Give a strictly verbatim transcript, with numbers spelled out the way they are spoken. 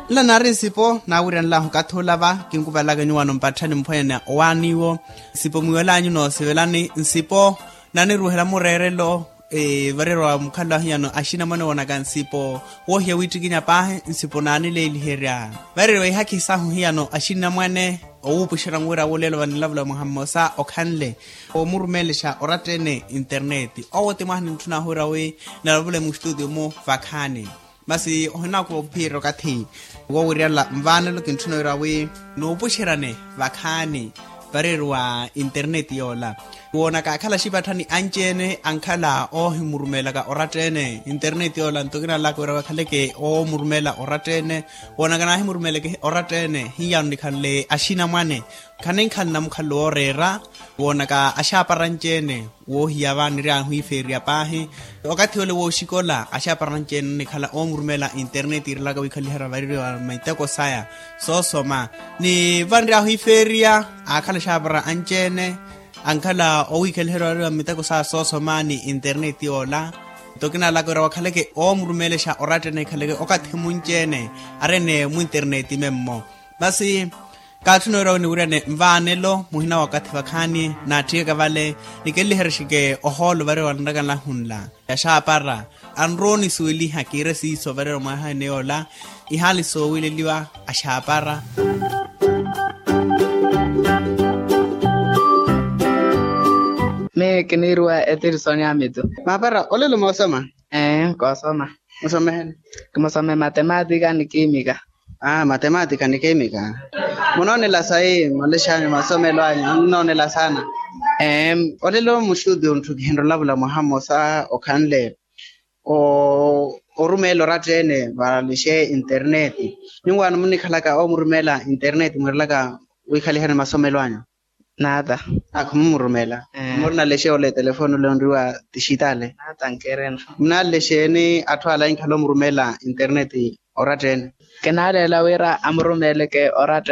Nla naari nsipo naawiryanlahu okathi olava kinkuvalaka nyuwano mpatthani mphwanya na owaaniwo. Nsipo mwiwelanyu noosivelani nsipo naniruwihela mureerelo. Vareeriwa mukhalo ahiyano axinamwane woonaka nsipo woohiya wittikinya paahi nsipo naanileeliherya. Vareeriwa ihakhi sahu hiyano axinamwane owuupuxerya nwira wolelo vanilavula mwaha mmosa okhanle omurumeelexa oratta-ene interneti owo ti mwaha nintthuna wira wi nalavule mustutio-mu vakhaani. Masi ohinaakuva ophiyeerya okathi wowiryala nvaanelo kintthuna wira wi nuupuxeryane vakhaani vareeriwa interneti yoola. Woonaka akhala axipatthani anci-ene ankhala oohimurumeelaka oratta-ene interneti yoola nto kinalaka wira wi akhaleke oomurumeela oratta-ene. Woonaka naahimurumeeleke oratta-ene hiyaano nikhanle axinamwane khaninkhalana mukhalo wooreera. Woonaka axaapara anci-ene woohiya vaani ri ahiifeeriya paahi. Okathi ole wooxikola axaapara anci-ene nikhala oomurumeela interneti iirelaka wiikhaliherya vareeriwa miteko saya soosoma. Ni vanri ahiifeeriya aakhala axaapara anci-ene ankhala owiikhaliherya vareeriwa miteko saya soosoma ni interneti yoola. Nto kinalaka wira wakhaleke oomurumeelexa oratta-ene ikhaleke okathi munci-ene arene mwinterneti memmo. Masi kaatthuna wira wi niwiryane nvaanelo muhina wakathi vakhaani naatthiyaka vale nikenliherexeke ohoolo vareeriwa nrakanlahu nla yaxaapara anrowa onisuweliha kiire siiso vareeriwa mwaha ene yoola. Ihaali soowileliwa axaapara. Miyo kiniiriwa etirisoni amitu. Maapara olelo moosoma. Ee koosoma. Musomeheni? Kimusome matematika ni kimika. Aa matematika ni kimika. Munoonela sayi malexanyu masomelo anyu munoonela saana. Olelo muxuti ontthukiheni olavula mwaha mmosa okhanle orumeela oratta-ene valexe interneti. Nyuwaano munikhalaka omurumeela interneti mwiirelaka wiikhaliherya masomelo anyu. Naata. Akhumumurumeela. Murina lexe ole telefoni ole onriwa tixitale. Naata nkerena. Munalexeeni atthu ala ahinkhala omurumeela interneti oratta-ene. Kinaaleela wira amurumeeleke oratta.